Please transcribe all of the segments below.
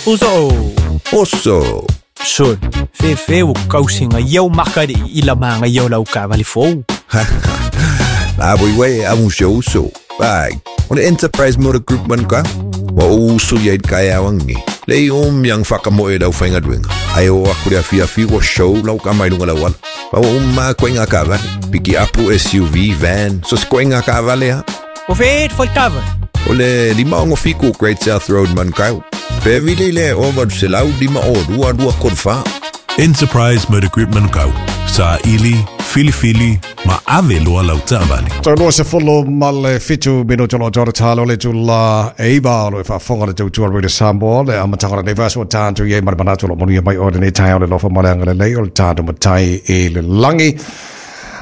Uso. Oso. Sol. Fefe o kausinga iau makari i la manga iau lau kavali fou. La bui wei a mu show so. Bai. O le Enterprise Motor Group man ka. Wa o usu ia i kai awangi. Le i om yang whakamoe lau whainga duenga. Ai o aku le awhi awhi wa show lau ka mai lunga lau ala. Pa wa umma koe ngā kavale. Piki apu SUV, van, so se koe ngā kavale ha. O fe fo kava. O le 567 Great South Road Manukau. Pe vili le o 800 502 234. Enterprise Motor Group Manukau. Sa ili, filifili, ma ave loa lau taavale. Taunua se folo ma le 7 minuto lo tōra tālo le tula e iwa o lo e whaafonga le tautua Rita Samoa le amataga o lenei vaiaso ua tāntu i ai ma le manatu o lo manuia mai oe lenei taeao le lofa ma le agalelei o le tātou matai i le lagi.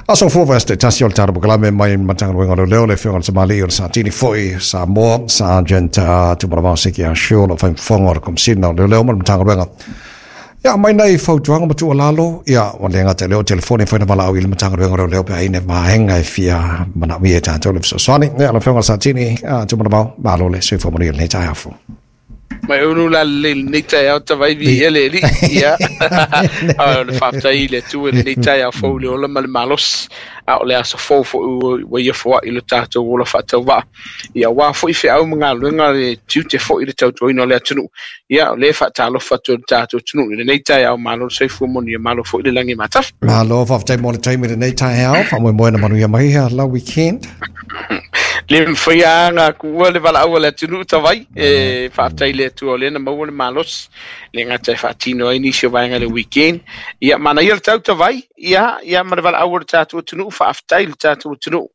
Aso fua vaiaso taitasi o le tātou polokalame mai Matagaluega o Leoleo le Afioga i le Tamalii o le Satini foi Samoa Sergeant Tumalavao Seki Ashu o lo o faimafoga o le Komesina o Leoleo ma le Matagaluega. Ia, aumai nai fautuaga ma tuualalo, ia, ua le gata i lea o telefoni e fai ona valaau i le Matagaluega o Leoleo pe a i ai ni vaega e fia manaomia e tatou le fesoasoani. Ia, lau Afioga i le Satini, Tumalavao, malo le soifua manuia i lenei taeao fou. Mai unu la lelei lenei taeao tavai viia le Alii. Ia, a o le faafetai i le Atua i lenei taeao fou i le ola ma le malosi, a o le aso fou foi ua ia foai i lo tatou ola faatauvaa. Ia, aua foi feau ma galuega le tiute foi i le tautuaina o le atunuu. Ia, o lea e faatalofa atu ai le tatou atunuu i lenei taeao, malo le soifua manuia, malo foi le lagi e matafa. Malo, faafetai mo le taimi i lenei taeao, faamoemoe na manuia mai ia lau weekend. Le mafai lava ona tuua le valaau a le atunuu tavai, e faafetai i le Atua o lea na maua le malosi, le gata e faatino ai nisi o vaega i le weekend. Ia, manaia le tau tavai, ia, ia ma le valaau a le tatou atunuu, faafetai i le tatou atunuu.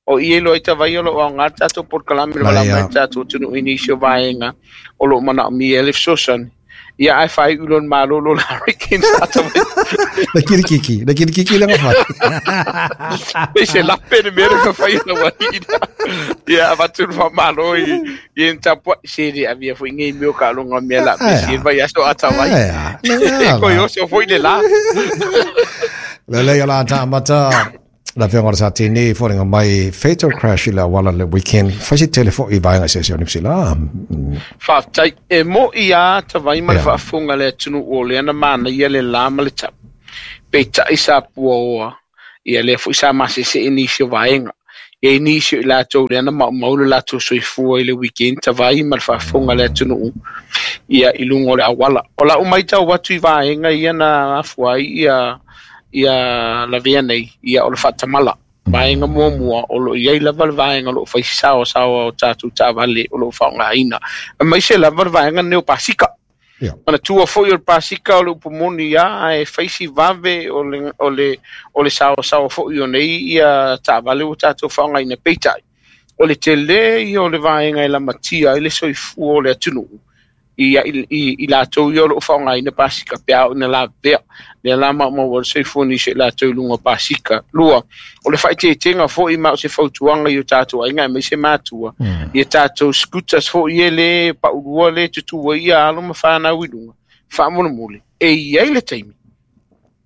O i e iloa ai tavai o lo o aoga le tatou polokalame le valaau mai le tatou atunuu i nisi o vaega o lo o manaomia le fesoasoani. Ia ae faaiu loa le malolo la weekend sa tavai. Le kirikiki, le kirikiki le ngawhai. Pei se lape le mea le ngawhai na wahi. Ia avatu le whamalo i i en tapua se le avia foi ngei meo ka longa mea la pe si vai aso atawai. Ko yo so foi le la. Le le la ta mata La Afioga o le Satini, foliga mai fatal crash i le auala le weekend, fai se tele foi i vaega eseese o Niu Sila. Faafetai. E mo'i a tavai ma le faafofoga a le atunuu o lea na manaia le la ma le tau. Peitai sa puaoa, ia lea foi sa masese nisi o vaega. E i ai nisi o i latou lea na maumau le latou soifua i le weekend tavai ma le faafofoga a le atunuu ia i luga o le auala. O lau maitau atu i vaega ia na afua ai ia ia lavea nei, ia o le faatamala. Vaega muamua, o lo o i ai lava le vaega o lo o fai saosaoa o tatou taavale o lo o faaaogaina, aemaise lava le vaega lenei o pasika. Yeah. Manatua foi o le pasika o le upu moni ia, ae fai si vave o le, o le, o le saosaoa foi o nei ia taavale ua tatou faaaogaina. Peitai, o le tele ia o le vaega e lamatia ai le soifua o le atunuu, i, i, i latou ia o lo o faaaogaina pasika pe a oo ina lavea. Lea la maumau ai le soifua o nisi o i latou i luga o pasika. Lua, o le faaeteetega foi ma o se fautuaga i o tatou aiga aemaise matua, i a tatou scooters foi ia le paulua le tutū ai ia alo ma fanau i luga, faamolemole, e i ai le taimi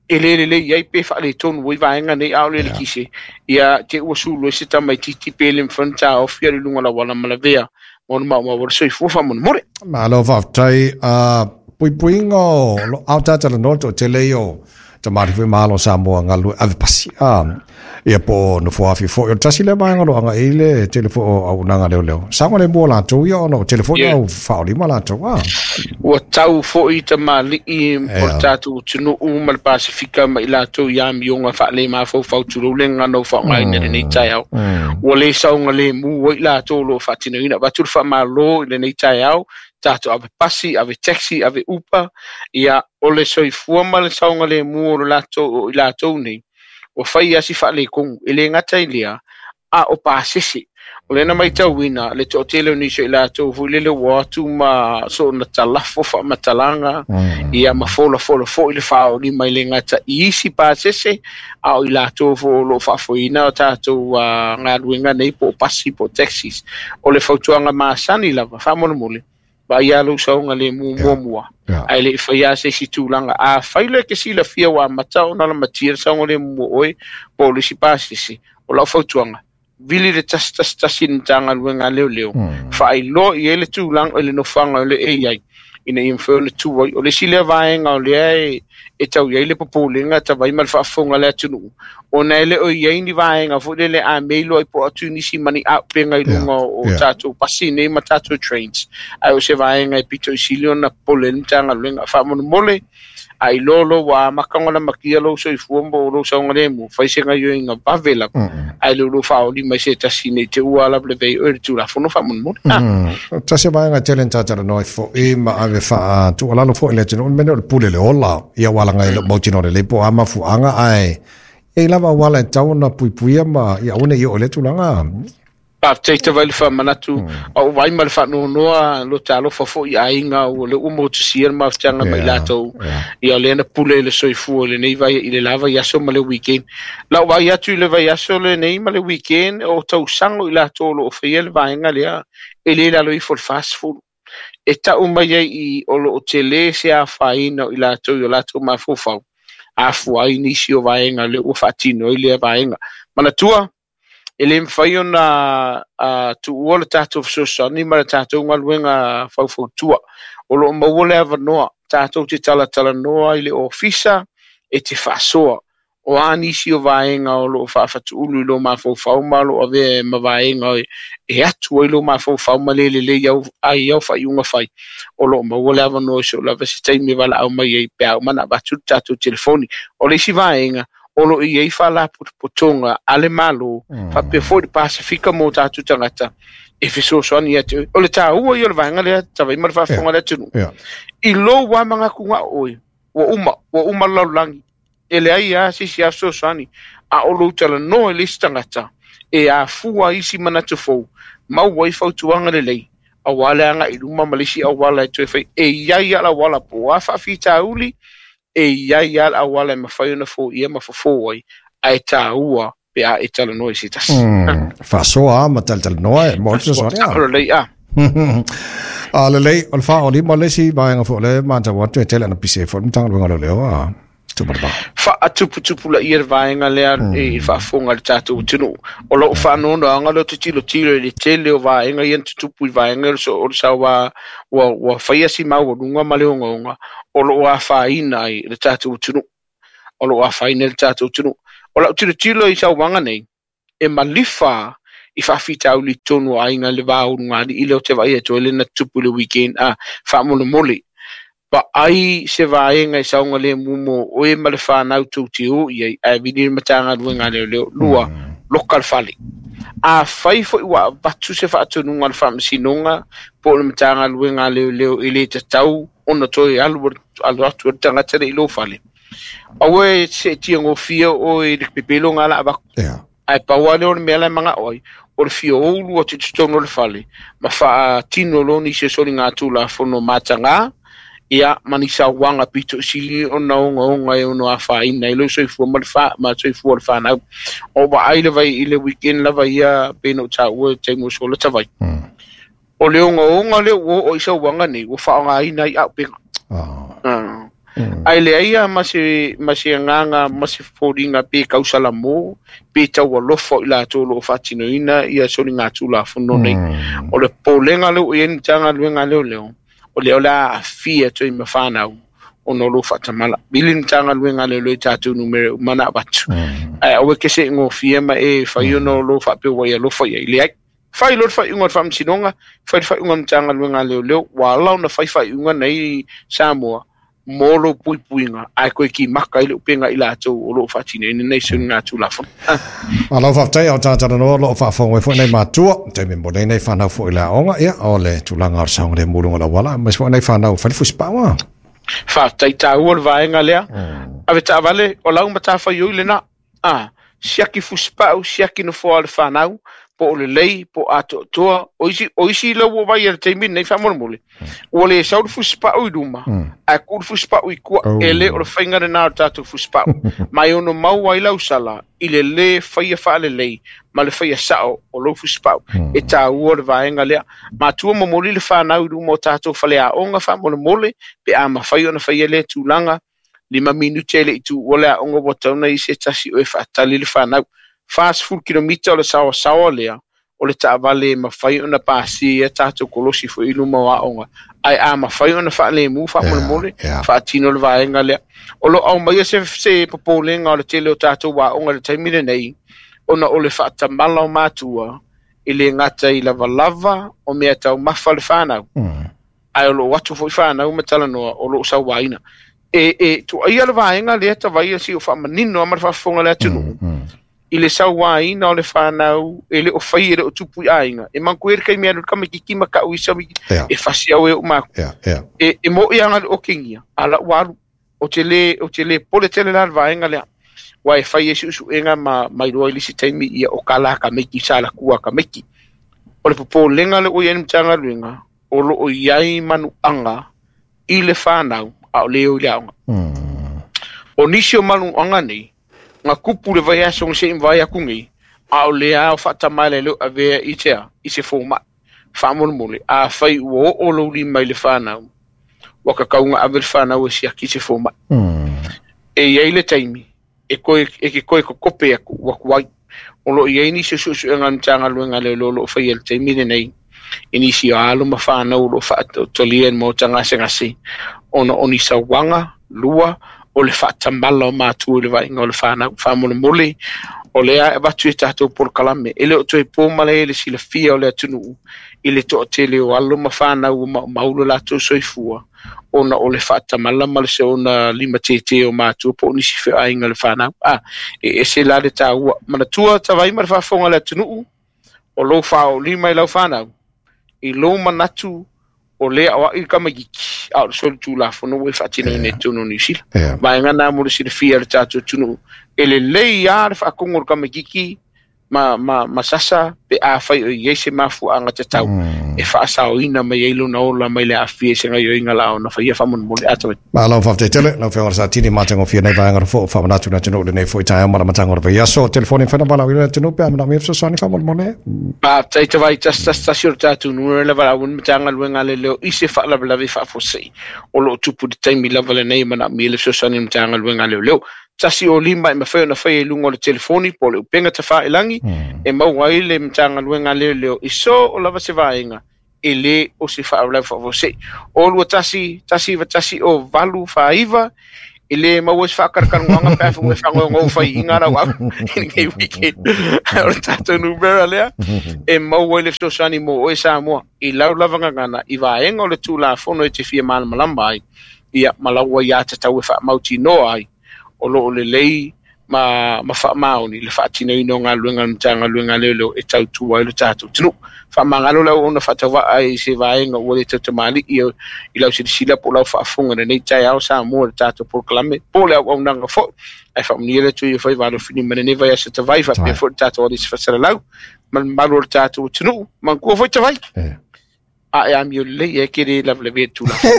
e le lelei ai pe faaletonu ai vaega nei a o le eletise, ia te ua sulu ai se tamaitiiti pe le mafai ona taofi i luga o le auala ma lavea mo le maumau o le soifua faamolemole. Malo faafetai. Puipuiga o lo ao tatalanoa le toatele ia o tamalii foi ma alo o Samoa galulue ave pasi a ia po o nofo afi foi. O le tasi lea vaega o lo o agai i le tele foi o auaunaga leoleo. Saogalemu o latou ia ona o tele foi na au faaolima latou a. Ua tau foi tamalii o le tatou atunuu ma le Pasefika ma i latou i amioga faalemafaufau tulou le gagana ua faaaogaina i lenei taeao. Ua le saogalemu ai i latou o lo o faatinoina. Avatu le faamalo i lenei taeao, tatou ave pasi, ave taxi, ave Uber, ia o le soifua ma le saogalemu o le latou o i latou nei, ua fai lava si faaletonu. E le gata i lea, a o pasese. O lea na matauina le toatele o nisi o i latou foi lele ua o atu ma soona talafo faamatalaga, ia ma folafola foi le faaolima e le gata i isi pasese, a o i latou foi o lo o faafoeina o tatou galuega nei po o pasi po o taxis. O le fautuaga masani lava, faamolemole, vaai lava lou saogalemu muamua, ae le i faia se isi tulaga. Afai loa e te silafia ua amata ona lamatia le saogalemu o oe po o le isi pasese, o lau fautuaga, vili le 111 i le Matagaluega a Leoleo, faailoa i ai le tulaga i le nofoaga o lo o e i ai, Ina ia mafai ona tu ai. O le isi lea vaega o lea e tau i ai le popolega tavai ma le faafofoga a le atunuu, ona e le o i ai ni vaega foi lele a mea iloa ai po o atu nisi ma ni auupega i luga o tatou pasi nei ma tatou trains. Ae o se vaega e pito i sili ona popole ai le Matagaluega. Faamolemole, a iloa lo ua amata ona lamatia lou soifua mo lou saogalemu, fai se gaioiga vave lava, ae le o lou faaoli mai se tasi nei te ua lavelave ai oe i le Tulafono faamolemole. Tasi o vaega tele na tatalanoa ai fo'i ma ave faatuualalo fo'i i le atunuu, le mea lea o le pule le ola. Ia ua alaga i lou mautinoa lelei po o a mafuaaga, ae e i ai lava auala e tatau ona puipuia ma ia aua ne i oo i lea tulaga. Faafetai tava i le faamanatu, a o vaai ma le faanoanoa lo talofa foi i aiga ua le ua motusia le mafutiaga mai latou. Ia lea na pule i le soifua i lenei vai i le la vaiaso ma le weekend. Lau vaai atu i le vaiaso lenei ma le weekend, o tausaga i latou o lo o faia le vaega lea, e le lalo ifo le 40. E tau mai ai i o lo o tele se afaina o i latou i o latou mafaufau, afua ai nisi o vaega lea ua faatino ai lea vaega. Manatua, e le mafai ona tuua le tatou fesoasoani ma le tatou galuega faufautua. O lo o maua le avanoa, tatou te talatalanoa i le ofisa e te faasoa. O a nisi o vaega o lo o faafatuulu i lo mafaufau ma lo o avea ma vaega e atu ai lo mafaufau ma le lelei ai au faaiuga fai. O lo o maua le avanoa i so lava se taimi e valaau mai ai pe a uma ona avatu le tatou telefoni. O le isi vaega, o lo o i ai faalapotopotoga a le Malo, faapea foi le Pasifika mo tatou tagata e fesoasoani ia te oe. O le taua ia o le vaega lea, tavai ma le faafofoga a le atunuu. I lou lava manatuga o oe, ua uma le lalolagi, e leai lava se isi lava fesoasoani, a o lou talanoa i le isi tagata, e afua isi manatu fou, maua ai fautuaga lelei, aua le agai i luma ma le isi auala e toe fai. E i ai lava le auala po o a faafitauli, e i ai lava le auala e mafai ona foia ma fofo ai, ae taua pe a e talanoa i se tasi. Faasoa ma talatalanoa e mo le fesoasoani. Lelei a. A lelei, o le 45 le isi vaega foi o lea e matau atu e tele ana pise foi le Matagaluega o Leoleo a. Faatuputupulaia le vaega lea i faafofoga a le tatou atunuu. O lou faanoanoaga lea ou te tilotilo i le tele o vaega ia na tutupu i vaega o le saoa ua faia si maualuga ma le ogaoga o lo o afaina ai le tatou atunuu. O lo o afaina ai le tatou atunuu. O lau tilotilo i sauaga nei, e malifa i faafitauli tonu o aiga i le va o ulugalii lea ou te vaai atu ai le na tutupu i le weekend a faamolemole. Vaai se vaega i saogalemu mo oe ma le whanau tou te o i ai, ae vili le Matagaluega a Leoleo. Lua, loka le fale. A fai foi ua avatu se faatonuga a le Faamasinoga po o le Matagaluega a Leoleo e le tatau ona toe alu atu le tagata le i lou fale. Aua e seetia gofia oe i le pepelo nga la avatu. Ae pau lea o le mea la e manao ai, o le fia oulu atu i totonu o le fale, ma faatino loa nisi o soligatulafono mataga, ia ma ni sauaga pito i sili ona ogaoga e ono afaina ai lou soifua ma le ma soifua o le whanau. O vaai le vai i le weekend lava ia pe na o taua e taimi o sola tavai. O le ogaoga lea ua oo i sauaga nei, ua faaaogaina ai auupega. Ae leai lava ma se agaga ma se foliga pe kausalamo, pe taualofa o i latou o lo o faatinoina ia soligatulafono nei. O le popolega lea ua i ai le Matagaluega a Leoleo, o lea o le a aafia atu ai ma whanau ona o lou faatamala. Vili le Matagaluega a Leoleo i tatou numera uma na avatu. Ae aua ke se gofia ma e fai ona o lou faapea ua e alofa i ai. Leai. Fai loa le faaiuga o le Faamasinoga, fai le faaiuga o le Matagaluega a Leoleo, ua ala ona fai faaiuga nei Samoa mo lou puipuiga, ae koe kimaka ai le upega i latou o lo o faatinoina nei soligatulafono. Malo faafetai o tatalanoa o lo o faafofoga mai foi nai matua, taimi mo nei nei whanau foi le aoga, ia, o le tulaga o le saogalemu i luga o le auala, aemaise foi nai whanau fai le fusipau. Faafetai taua le vaega lea. Ave taavale, o lau matafaioi lena. Siaki fusipau, siaki nofoa o le whanau, po o le lei, po o atoatoa, o isi lau ua vai a le taimi nei faamolemole. Ua le sau le fusipau i luma, ae ku le fusipau i kua, e le o le whainga lena o le tatou fusipau. Mai ono mau ai lau sala, i le le whaia whaalelei, ma le whaia sao o lau fusipau. E taua le vaega lea. Matua momoli le whanau i luma o tatou faleaoga faamolemole, pe a mawhai ona whaia le tulaga, 5 minute le i tu ua le aoga ua tauna i se tasi o e whaatali le whanau. 40 kilomita o le sawasawa lea, O le taavale e mafai ona pasia tatou kolosi foi i luma o aoga ae a mafai ona faalemu faamolemole faatino le vaega lea. O loo aumaia se popolega o le tele o tatou aoga i le taimi lenei ona o le faatamala o matua e le gata i lavalava o mea taumafa le fanau ae o loo atu foi fanau ma talanoa o loo sauaina e tuaia le vaega lea tavaia si o faamanino a ma le faafofoga le atunuu i le sauaina o le fanau e le o fai e le o tupu i aiga e manku e le kaimi alu tamaitiiti ma kau i sawi e fasi au e o maku e mo i anga le okengia ala walu o te le pole tele la le vaega lea wa e fai e susuega ma mailoa i lisi taimi ia o kala ka meiki sa la kua ka meiki o le popolega le o i ai le Matagaluega o loo i ai manuaga i le fanau a o le o i le aoga. O nisi o manuaga nei nga kupu le vai aso se vai aku nei a o le ao faatamala le avea i tea i se fomai faamolemole a fai ua oo lou lima i le fanau ua kakauga ave le fanau e siaki se fomai. E iai le taimi e koe e ke koe kokope aku ua kuai o loo iai nisi o suesuega a le Matagaluega le o loo faia i le taimi lenei i nisi o alo ma fanau o loo faatotolia i le maota gasegase ona o ni sauaga lua o le faatamala o matua i le vaaiga o le fanau faamolemole o lea e avatu i tatou polokalame e le o toe po malae le silafia o le atunuu i le toatele o alo ma fanau ua maumau lo latou soifua ona o le faatamala ma le seona lima tete o matua po o nisi feoaiga le fanau e ese la le taua manatua tavai ma le faafofoga le atunuu o lou faaolima i lau fanau i lou manatu o lea o ai le tamaitiiti a o le solitulafono ua e faatinoina i totonu o Niu Sila. Vaega na mo le silafia o le tatou atunuu e lelei lava le faakogo o le tamaitiiti ma sasa pe afai o i ai se mafuaaga tatau e faasaoina mai ai lona ola mai le aafia i se gaioiga la ona faia faamolemole a tavai. Malo faafetai tele lau Afioga Satini matagofie nei vaega fo faamanatu le atunuu lenei foi taeao ma le amataga o le vaiaso. Telefoni whena wala le atunuu pe a manaomia fesoasoani faamolemole. Faafetai tavai tasi tasi tasi o le tatou numera le valaau le Matagaluega le leo i se faalavelave faafuasei o loo tupu i le taimi lava lenei e manaomia le fesoasoani o le Matagaluega leoleo. 105 e mafai ona faia i luga o le telefoni po o le upega tafailagi e maua ai le Matagaluega leoleo i so o lava se vaega e le o se faalavelave faafuasei. O 21 191 o 849 e le maua se faakarakaragoaga pe a fai ua e fagogogo faiiga lau au i lenei weekend. O le tatou numera lea e maua ai le fesoasoani mo oe Samoa i lau lava gagana i vaega o le Tulafono e te fia malamalama ai ia ma lau ai tatau e faamautinoa ai o loo lelei ma faamaoni le faatinoina o galuega a le Matagaluega leoleo e tautua ai le tatou atunuu. Faamagalo lau ona faatauvaa ai i se vaega ua le tautamalii i lau silasila po o lau faafofoga i lenei taeao Samoa i le tatou polokalame po o le auaunaga foi. Ae faamanuia le Atua ia fai valofini ma lenei vaiaso tavai faapea foi le tatou alisi faasalalau ma le mamalu o le tatou atunuu. Manatua foi tavai. A e amio lelei e ke le lavelave tulafono.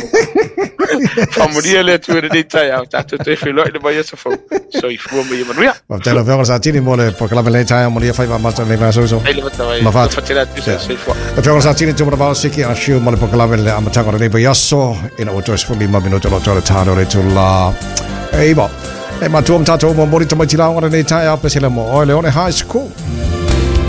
Faamanuia le Atua i lenei taeao tatou toe feiloai le vaiaso fou. Soifua ma ia manuia. Faafetai lau Afioga Satini mo le polokalame lenei taeao manuia faiva mata lenei vaiaso. Ai le matavai. Ma fatu. Fatela atu soifua. Afioga Satini tu mana siki a shiu mo le polokalame le amataga o lenei vaiaso ina ua toe 15 minuto lo toe le tano le tula. Eiva. E matua ma tatou mo mori tamaiti laoga lenei taeao pesele mo oe le one high school.